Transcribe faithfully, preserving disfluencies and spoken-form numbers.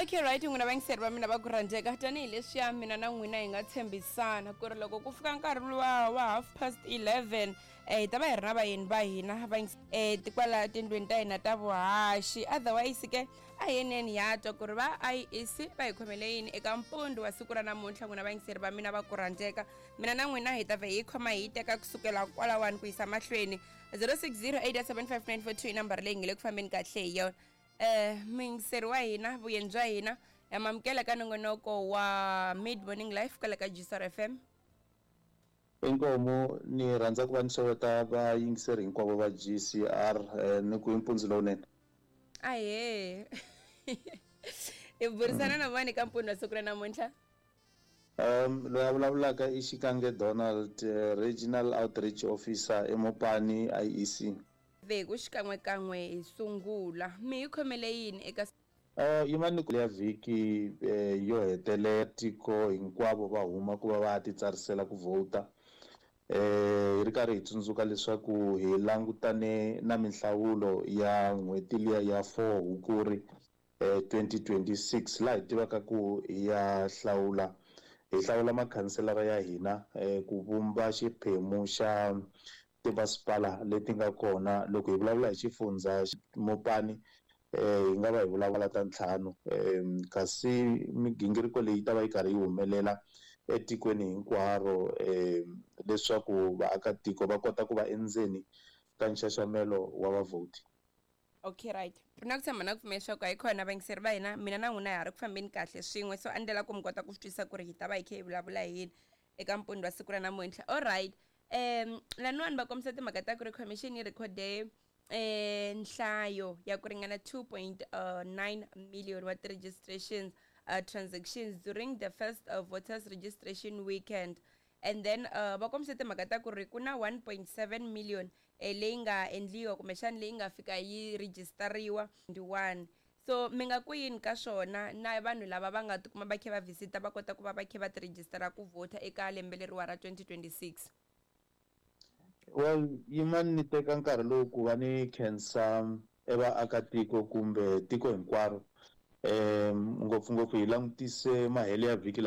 Okay, right, n'wina vayingiseri va mina va ku rhandzeka, tanihileswiya mina na n'wina hi nga tshembisana ku ri loko ku fika nkarhi luwa wa half past eleven eh hi ta va hi ri na vayeni va hina va eh tikwala tindlwini ta hina ta vuhaxi. Otherwise ke a hi yeneni ya twa ku ri va I E C va hi khomele yini eka mpundzu wa siku ra namuntlha. N'wina vayingiseri va mina va ku rhandzeka, mina na n'wina hi ta vhe hi khoma hi teka kusukela kwalawani ku yisa mahlweni. zero six zero eight seven five nine four two i nambara leyi nge le ku fambeni kahle hi yona. eh muyingiseri wa hina, vuyeni bya hina ya mamukela ka nongonoko wa Mid Morning Life kwala ka G S R F M. Inkomu, ni rhandza ku va ni xeweta vayingiseri hinkwavo va G C R, eh, ni ku i mpundzu lowunene. Ahee, hi burisana na vani ka mpundzu wa siku ra namuntlha? um loyi a vulavulaka i Xikange Donald, eh, regional outreach officer eMopani I E C. Veku xikan'wekan'we hi sungula, mi hi khomele yini eka Uh, yimani ya vhiki eh, yo hetelela tiko hinkwavo va huma ku va va ya titsarisela ku vhota, eh hi ri karhi hi tsundzuka leswaku hi langutane na minhlawulo ya n'hweti liya ya four Hukuri eh twenty twenty-six, laha hi tivaka ku hi ya hlawula, hi hlawula makhanselara ya hina eh ku vumba xiphemu xa timasipala leti nga kona. Loko hi vulavula hi xifundza Mopani, eh hi nga va hi vulavula ta ntlhanu, um kasi migingiriko leyi ta va yi karhi yi humelela etikweni hinkwaro, um leswaku vaakatiko va kota ku va endzeni ka nxaxamelo wa vavhoti. Okay, right, na ku tshemba na ku pfumela leswaku a yi kona vayingiseri va hina, mina na n'wina ha ri ku fambeni kahle swin'we. So a ndlela ku mi kota ku swi twisisa ku ri hi ta va hi kha hi vulavula hi yini eka mpundzu wa siku ra namuntlha. Alright, um laniwani va kombisa timhaka ta ku ri commission yi rhekhode eh nhlayo ya ku ringana two point nine million wa ti-registrations uh, transactions during the first uh, voters registration weekend, and then uh, va kombise timhaka ta ku ri ku na one point seven million eh, leyi nga endliwa kumbexana leyi nga fika yi rejistariwa one. So mi nga ku yini ka swona na vanhu lava va nga tikuma va kha va visita va kota ku va va kha va tirhejistara ku vhota eka lembe leriwa ra twenty twenty-six? Well, yimani ni teka nkarhi lowu ku va ni khensa evaakatiko kumbe tiko hinkwaro, um ngopfungopfu hi langutise mahelo ya vhiki.